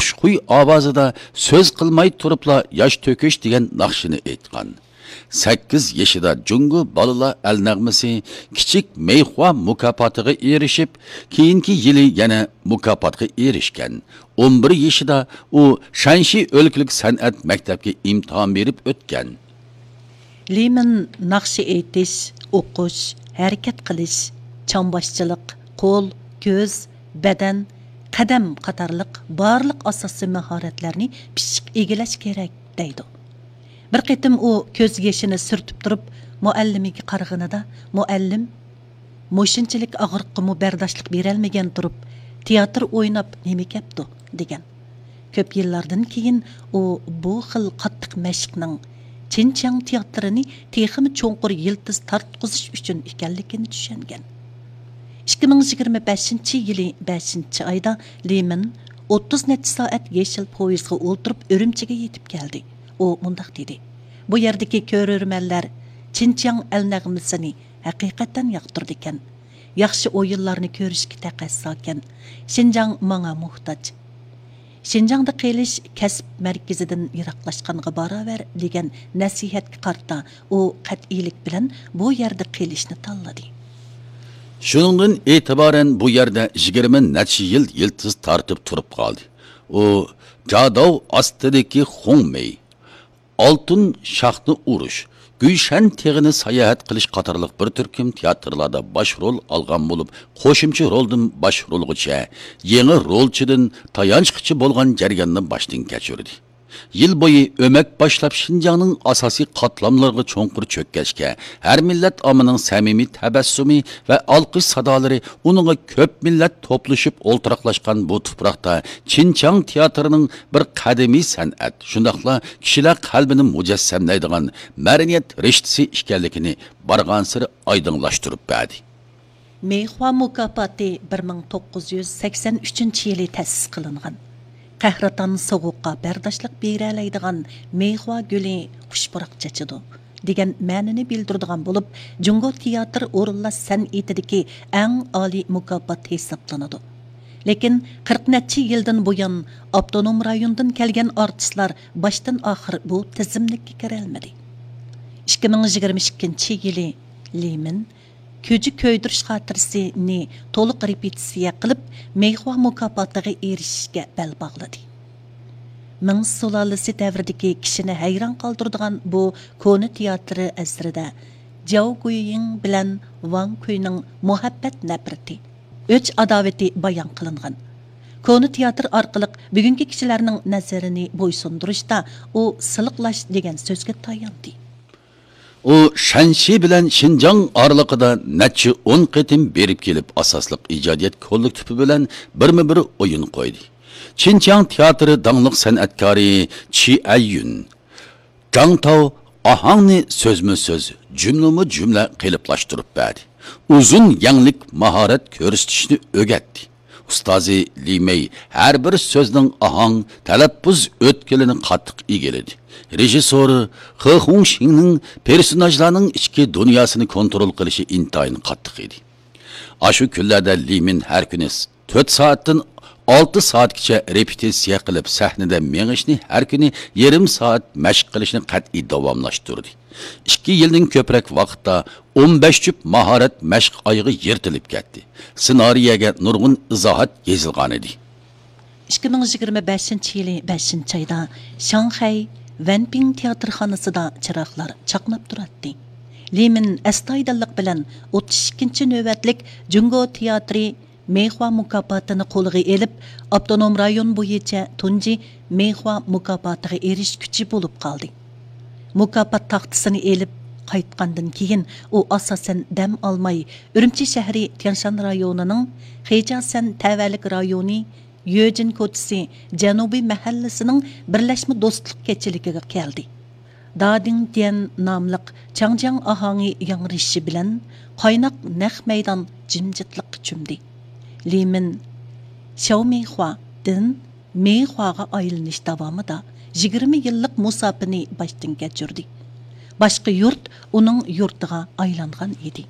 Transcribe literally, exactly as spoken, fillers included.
خۇشخۇي ئاۋازىدا سۆز قىلماي تۇرۇپلا ياش تۆكۈش دېگەن ناخشىنى ئېيتقان. سەككىز يېشىدا جۇڭگو بالىلار ئەل نەغمىسى كىچىك مەيخۇا مۇكاپاتىغا ئېرىشىپ، كېيىنكى يىلى يەنە مۇكاپاتقا ئېرىشكەن. ئون بىر يېشىدا ئۇ شەنشى ئۆلكىلىك سەنئەت مەكتەپكە ئىمتىھان بېرىپ ئۆتكەن. لىمىن ناخشا ئېيتىش، ئوقۇش، ھەرىكەت قىلىش، چامباشچىلىق، قول، كۆز، بەدەن، قەدەم قاتارلىق بارلىق ئاساسىي ماھارەتلەرنى پىششىق ئىگىلەش كېرەك، دەيدۇ. بىر قېتىم ئۇ كۆز يېشىنى سۈرتۈپ تۇرۇپ، مۇئەللىمىگە قارىغىنىدا، مۇئەللىم، مۇشۇنچىلىك ئاغرىققىمۇ بەرداشلىق بېرەلمىگەن تۇرۇپ، تىياتىر ئويناپ نېمە كەپتۇ؟ دېگەن. كۆپ يىللاردىن كېيىن ئۇ بۇ خىل قاتتىق مەشىقنىڭ چىنچياڭ تىياتىرىنى تېخىمۇ چوڭقۇر يىلتىز تارتقۇزۇش ئۈچۈن ئىكەنلىكىنى چۈشەنگەن. ئىككى مىڭ يىگىرمە بەشىنچى يىلى بەشىنچى ئايدا لىمىن ئوتتۇز نەچچە سائەت يېشىل پويىزغا ئولتۇرۇپ ئۈرۈمچىگە يېتىپ كەلدى. ئۇ مۇنداق دېدى: «بۇ يەردىكى كۆرۈرمەنلەر چىنچياڭ ئەل نەغمىسىنى ھەقىقەتەن ياقتۇرىدىكەن. ياخشى ئويۇنلارنى كۆرۈشكە تەقەززاكەن. شىنجاڭ ماڭا موھتاج. شىنجاڭدا قېلىش كەسىپ مەركىزىدىن يىراقلاشقانغا باراۋەر» دېگەن نەسىھەتكە قارىتا ئۇ قەتئىيلىك بىلەن بۇ يەردە قېلىشنى تاللىدى. شۇنىڭدىن ئېتىبارەن بۇ يەردە يىگىرمە نەچچە يىل يىلتىز تارتىپ تۇرۇپ قالدى. ئۇ جاداۋ ئاستىدىكى خۇڭمېي، ئالتۇن شاخنى ئۇرۇش، گۈيشەن تېغىنى ساياھەت قىلىش قاتارلىق بىر تۈركۈم تىياتىرلاردا باش رول ئالغان بولۇپ، قوشۇمچە رولدىن باش رولغىچە، يېڭى رولچىدىن تايانچقىچە بولغان جەرياننى باشتىن كەچۈردى. يىل بويى ئۆمەك باشلاپ شىنجاڭنىڭ ئاساسىي قاتلاملىرىغا چوڭقۇر چۆككەچكە، ھەر مىللەت ئاممىنىڭ سەمىمىي تەبەسسۇمى ۋە ئالقىش سادالىرى ئۇنىڭغا كۆپ مىللەت توپلىشىپ ئولتۇراقلاشقان بۇ تۇپراقتا چىنچياڭ تىياتىرىنىڭ بىر قەدىمىي سەنئەت، شۇنداقلا كىشىلەر قەلبىنى مۇجەسسەملەيدىغان مەدەنىيەت رىشتىسى ئىكەنلىكىنى بارغانسېرى ئايدىڭلاشتۇرۇپ بەردى. مېيخۇا مۇكاپاتى بىر مىڭ توققۇز يۈز سەكسەن ئۈچىنچى يىلى تەسىس قىلىنغان. «قەھرىتان سوغۇققا بەرداشلىق بېرەلەيدىغان مېيخۇا گۈلى خۇش پۇراق چېچىدۇ» دېگەن مەنىنى بىلدۈرىدىغان بولۇپ، جۇڭگو تىياتىر ئورۇنلاش سەنئىتىدىكى ئەڭ ئالىي مۇكاپات ھېسابلىنىدۇ. لېكىن قىرىق نەچچە يىلدىن بۇيان، ئاپتونوم رايوندىن كەلگەن ئارتىسلار باشتىن ئاخىر بۇ تىزىملىككە كىرەلمىدى. ئىككى مىڭ يىگىرمە ئىككىنچى يىلى لىمىن كۆجە كۆيدۈرۈش خاتىرىسىنى تولۇق رېپېتىتسىيە قىلىپ، مېيخۇا مۇكاپاتىغا ئېرىشىشكە بەل باغلىدى. مىڭ سۇلالىسى دەۋرىدىكى كىشىنى ھەيران قالدۇرىدىغان بۇ كونا تىياتىرى ئەسىرىدە جياۋ گۇيىڭ بىلەن ۋاڭ كۈينىڭ مۇھەببەت نەپرىتى، ئۆچ ئاداۋىتى بايان قىلىنغان. كونا تىياتىر ئارقىلىق بۈگۈنكى كىشىلەرنىڭ نەزىرىنى بويسۇندۇرۇشتا ئۇ سىلىقلاش دېگەن سۆزگە تاياندى. ئۇ شەنشى بىلەن شىنجاڭ ئارىلىقىدا نەچچە ئون قېتىم بېرىپ كېلىپ، ئاساسلىق ئىجادىيەت كوللېكتىپى بىلەن بىرمۇ بىر ئويۇن قويدى. چىنچياڭ تىياتىرى داڭلىق سەنئەتكارى چى ئەييۈن، جاڭتاۋ ئاھاڭنى سۆزمۇ سۆز، جۈملىمۇ جۈملە قېلىپلاشتۇرۇپ بەردى. ئۇزۇن يەڭلىك ماھارەت كۆرسىتىشنى ئۆگەتتى. ئۇستازى لى مېي ھەر بىر سۆزنىڭ ئاھاڭ، تەلەپپۇز ئۆتكىلىنى قاتتىق ئىگىلىدى. رېژىسسورى خې خۇڭشىڭنىڭ پېرسوناژلارنىڭ ئىچكى دۇنياسىنى كونترول قىلىشى ئىنتايىن قاتتىق ئىدى. ئاشۇ كۈنلەردە لى مىن ھەر كۈنى تۆت سائەتتىن ئالتە سائەتكىچە رېپېتىتسىيە قىلىپ، سەھنىدە مېڭىشنى، ھەر كۈنى يېرىم سائەت مەشىق قىلىشنى قەتئىي داۋاملاشتۇردى. ئىككى يىلدىن كۆپرەك ۋاقىتتا ئون بەش جۈپ ماھارەت مەشىق ئايىغى يىرتىلىپ كەتتى. سېنارىيەگە نۇرغۇن ئىزاھات يېزىلغانىدى. ئىككى مىڭ يىگىرمە بەشىنچى يىلى بەشىنچى ئايدا شاڭخەي ۋەنپىڭ تىياتىرخانىسىدا چىراغلار چاقناپ تۇراتتى. لى مىن ئەستايىدىللىق بىلەن ئوتتۇز ئىككىنچى نۆۋەتلىك جۇڭگو تىياتىرى مېيخۇا مۇكاپاتىنى قولىغا ئېلىپ، ئاپتونوم رايون بويىچە تۇنجى مېيخۇا مۇكاپاتىغا ئېرىشكۈچى بولۇپ قالدى. مۇكاپات تاختىسىنى ئېلىپ قايتقاندىن كېيىن، ئۇ ئاساسەن دەم ئالماي، ئۈرۈمچى شەھىرى تيەنشان رايونىنىڭ خېجاسەن تەۋەلىك رايونى، يۆجىن كوچىسى جەنۇبىي مەھەللىسىنىڭ بىرلەشمە دوستلۇق كېچىلىكىگە كەلدى. دادىڭ ديەن ناملىق چاڭجياڭ ئاھاڭى ياڭرىشى بىلەن، قايناق نەق مەيدان جىمجىتلىققا چۆمدى. لى مىن شياۋمېيخۇادىن مېيخۇاغا ئايلىنىش داۋامىدا يىگىرمە يىللىق مۇساپىنى باشتىن كەچۈردى. باشقا يۇرت ئۇنىڭ يۇرتىغا ئايلانغان ئىدى.